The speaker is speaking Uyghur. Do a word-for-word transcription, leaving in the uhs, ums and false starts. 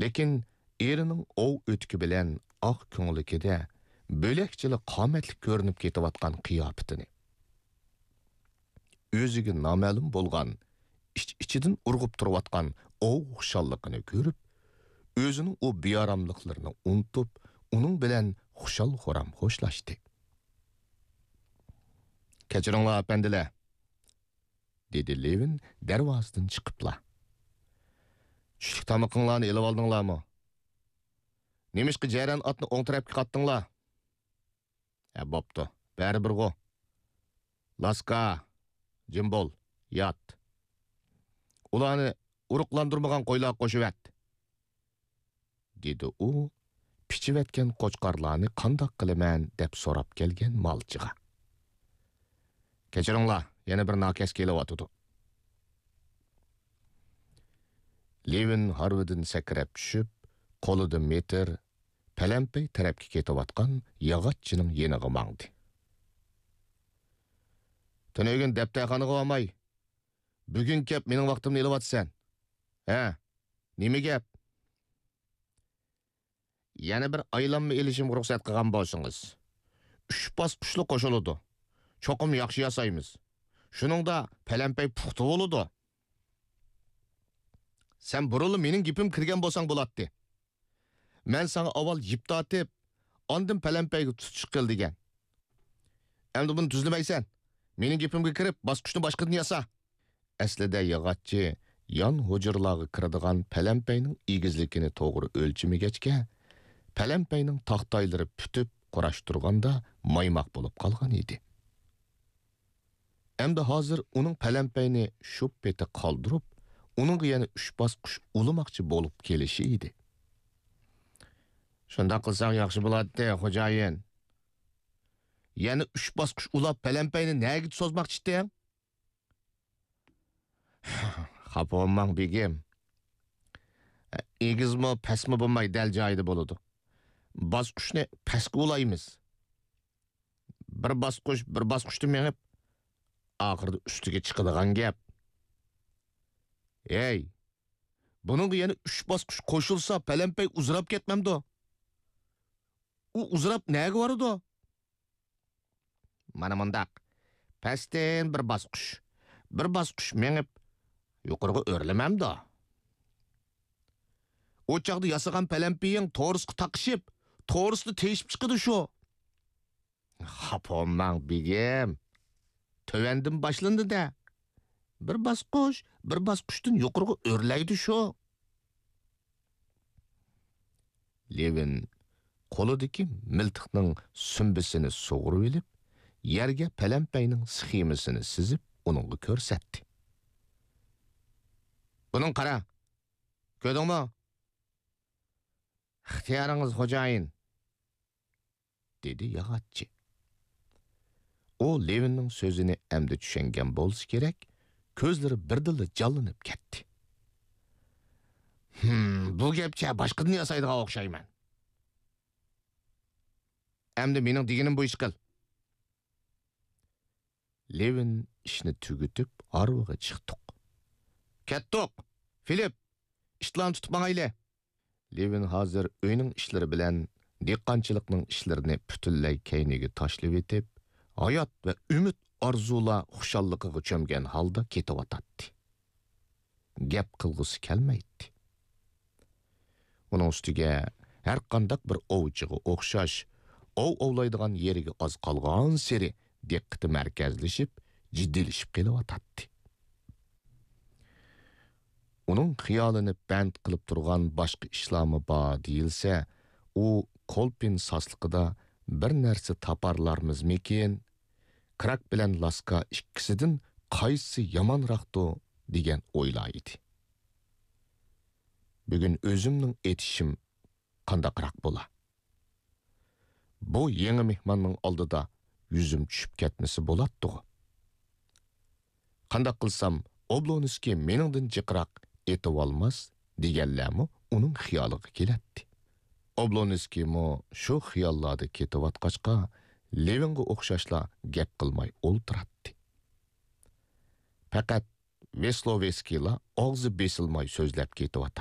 لېكىن ئېرىنىڭ ئوۋ ئۆتۈكى بىلەن ئاق كۆڭلىكىدە بۆلەكچىلا قامەتلىك كۆرۈنۈپ كېتىۋاتقان قىياپىتىنى، ئۆزىگە نامەلۇم بولغان ئىچ-ئىچىدىن ئۇرغۇپ تۇرۇۋاتقان ئوۋ خۇشاللىقىنى كۆرۈپ، ئۆزىنىڭ ئۇ بىئاراملىقلىرىنى ئۇنتۇپ، ئۇنىڭ بىلەن خۇشال-خۇرام خوشلاشتى. «كەچۈرۈڭلار، ئەپەندىلەر!» دېدى لېۋىن دەرۋازىدىن چىقىپلا. «چۈشلۈك تامىقىڭلارنى ئېلىۋالدىڭلارمۇ؟ نېمىشقا جەرەن ئاتنى ئوڭ تەرەپكە قاتتىڭلار؟ ھە، بوپتۇ، بەرىبىرغۇ. لاسكا، جىم بول، يات. ئۇلارنى ئۇرۇقلاندۇرمىغان قويلارغا قوشۇۋەت.» دېدى ئۇ پىچىۋەتكەن قوچقارلارنى قانداق قىلىمەن دەپ سوراپ كەلگەن مالچىغا. «كەچۈرۈڭلار، يەنە بىر ناكەس كېلىۋاتىدۇ.» لېۋىن ھارۋىدىن سەكرەپ چۈشۈپ، قولىدا مېتىر، پەلەمپەي تەرەپكە كېتىۋاتقان ياغاچچىنىڭ يېنىغا ماڭدى. «تۈنۈگۈن دەپتەرخانىغا بارماي، بۈگۈن كەپ مېنىڭ ۋاقتىمنى ئېلىۋاتىسەن. ھە، نېمە گەپ؟» «يەنە بىر ئايلانما ئېلىشىمغا رۇخسەت قىلغان بولسىڭىز. ئۈچ باسقۇچلۇق قوشۇلىدۇ. چوقۇم ياخشى ياسايمىز. شۇنىڭدا پەلەمپەي پۇختا بولىدۇ.» «سەن بۇرۇنلا مېنىڭ گېپىمگە كىرگەن بولساڭ بولاتتى. مەن ساڭا ئاۋۋال يىپ تارتىپ، ئاندىن پەلەمپەيگە تۇتۇش قىل دېگەن. ئەمدى بۇنى تۈزلىمەيسەن. مېنىڭ گېپىمگە كىرىپ، باسقۇچنى باشقىدىن ياسا.» ئەسلىدە ياغاچچى يان ھۇجرىلارغا كىرىدىغان پەلەمپەينىڭ ئېگىزلىكىنى توغرا ئۆلچىمىگەچكە، پەلەمپەينىڭ تاختايلىرى پۈتۈپ قۇراشتۇرغاندا مايماق بولۇپ قالغان ئىدى. ئەمدى ھازىر ئۇنىڭ پەلەمپەينى شۇ پېتى قالدۇرۇپ، ئۇنىڭغا يەنە ئۈچ باسقۇچ ئۇلىماقچى بولۇپ كېلىشى ئىدى. «شۇنداق قىلساڭ ياخشى بولاتتى، خوجايىن. يەنە ئۈچ باسقۇچ ئۇلاپ، پەلەمپەينى نەگە سوزماقچىتتىڭ؟» «خاپا بولماڭ، بېگىم. ئېگىزمۇ، پەسمۇ بولماي، دەل جايىدا بولىدۇ. باسقۇچنى پەسكە ئۇلايمىز. بىر باسقۇچ، بىر باسقۇچتا مېڭىپ، ئاخىرىدا ئۈستىگە چىقىدىغان گەپ.» «ھەي، بۇنىڭغا يەنە ئۈچ باسقۇچ قوشۇلسا، پەلەمپەي ئۇزىراپ كەتمەمدۇ؟ ئۇ ئۇزىراپ نەگە بارىدۇ؟» «مانا مۇنداق، پەستىن بىر باسقۇچ، بىر باسقۇچ مېڭىپ، يۇقىرىغا ئۆرلىمەمدۇ؟ ئۇ چاغدا ياسىغان پەلەمپىيىڭ تورۇسقا تاقىشىپ، تورۇستا تېيىشىپ چىقىدۇ شۇ.» «خاپا بولماڭ، بېگىم. تۆۋەندىن باشلىنىدۇ-دە. بىر باسقۇچ، بىر باسقۇچتىن يۇقىرىغا ئۆرلەيدۇ شۇ.» لېۋىن قولىدىكى مىلتىقنىڭ سۈمبىسىنى سۇغۇرۇۋېلىپ، يەرگە پەلەمپەينىڭ سخېمىسىنى سىزىپ، ئۇنىڭغا كۆرسەتتى. «بۇنىڭغا قارا. كۆردۈڭمۇ؟» «ئىختىيارىڭىز، خوجايىن.» دېدى ياغاچچى. ئۇ لېۋىننىڭ سۆزىنى ئەمدى چۈشەنگەن بولسا كېرەك، كۆزلىرى بىردىنلا جانلىنىپ كەتتى. «ھىم، بۇ گەپچە باشقىدىن ياسايدىغان ئوخشايمەن. ئەمدى مېنىڭ دېگىنىم بويىچە قىل.» لېۋىن ئىشنى تۈگىتىپ، ھارۋىغا چىقتۇق. «كەتتۇق! فىلىپ، ئىتلارنى تۇتۇپ ماڭايلى!» لېۋىن ھازىر ئۆينىڭ ئىشلىرى بىلەن دېھقانچىلىقنىڭ ئىشلىرىنى پۈتۈنلەي كەينىگە تاشلىۋېتىپ، ھايات ۋە ئۈمىد ئارزۇلار خۇشاللىقىغا چۆمگەن ھالدا كېتىۋاتاتتى. گەپ قىلغۇسى كەلمەيتتى. ئۇنىڭ ئۈستىگە ھەرقانداق بىر ئوۋچىغا ئوخشاش، ئوۋ ئوۋلايدىغان يېرىگە ئاز قالغانسېرى دىققىتى مەركەزلىشىپ، جىددىيلىشىپ قېلىۋاتاتتى. ئۇنىڭ خىيالىنى بەند قىلىپ تۇرغان باشقا ئىشلارمۇ بار دېيىلسە، ئۇ كولپىن ساسلىقىدا بىر نەرسە تاپارلارمىزمىكىن؟ كراك بىلەن لاسكا ئىككىسىدىن قايسىسى يامانراقتۇ دېگەن ئويلار ئىدى. بۈگۈن ئۆزۈمنىڭ ئېتىشىم قانداقراق بولا؟ بۇ يېڭى مېھماننىڭ ئالدىدا يۈزۈم چۈشۈپ كەتمىسە بولاتتىغۇ. قانداق قىلسام ئوبلونسكىي مېنىڭدىن جىقراق ئېتىۋالماس دېگەنلەرمۇ ئۇنىڭ خىيالىغا كېلەتتى. ئوبلونسكىيمۇ شۇ خىياللاردا كېتىۋاتقاچقا، لېۋىنغا ئوخشاشلا گەپ قىلماي ئولتۇراتتى. پەقەت ۋېسلوۋېسكىيلا ئاغزى بېسىلماي سۆزلەپ كېتىۋاتاتتى.